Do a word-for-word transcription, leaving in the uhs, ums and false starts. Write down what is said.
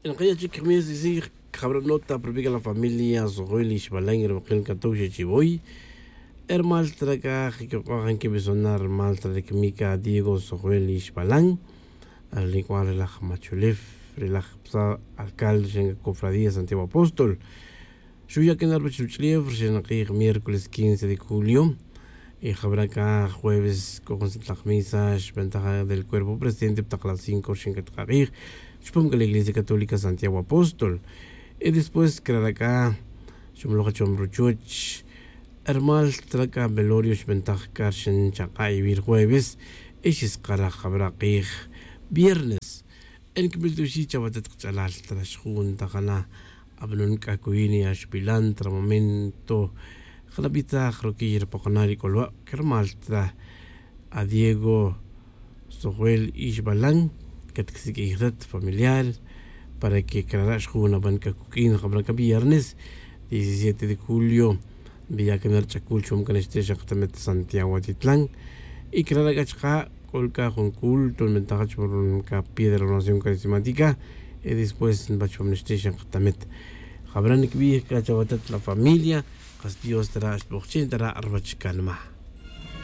Nqaya' chik jmes isij jabra' nota propica la familia sojwel ixbalan ri waqil katow xa chiwoy. Hermal tra c'a jikibq'oj nquibisona' hermal tra ri cmica diego sojwel ixbalan. Ri cual ri laj macholef ri laj psa alcalde ri cofradía santiago apóstol. Xuya' que na ruwech ruch'ulef ri xenak'ij miércoles quince de julio. Y jabra' c'a jueves c'o jun santla' misa xbentaj del cuerpo presidente pa tak las cinco ri xencatak'ak'ij chupam c'a la iglesia católica santiago apóstol. Y después crara' c'a xumloj chupam ruchuch. Hermal tra c'a velorio xbentaj c'a ri xenchak'a' iwi' ri jueves. Y xiskaraj jabra' k'ij viernes. Enquimil tuxi' chawatet kach'alal tra xjun ta jana' abanon c'a cuyin ya xpilan tra momento. Jana' bitaj ruquiy ri poqona' ri c'olwa' que rumal tra adiego sojwel ixbalan. Catquisiq'uij rat familiar para que crara' xjun aban c'a cuq'uin jabra' c'a viernes diecisiete de julio. Viya' cana ri ch'acul chupam cana xtix akatamet santiago atitlan. Y crara' c'a chaka' c'o c'a jun culto nbentaj chupam c'a piedra de la oración carismática. Y después nbach chupam nixtix akatamet. Jabra' niquibij c'a chawatet la familia. Kas dios tara' xtbojchi' tara' ruwech canma.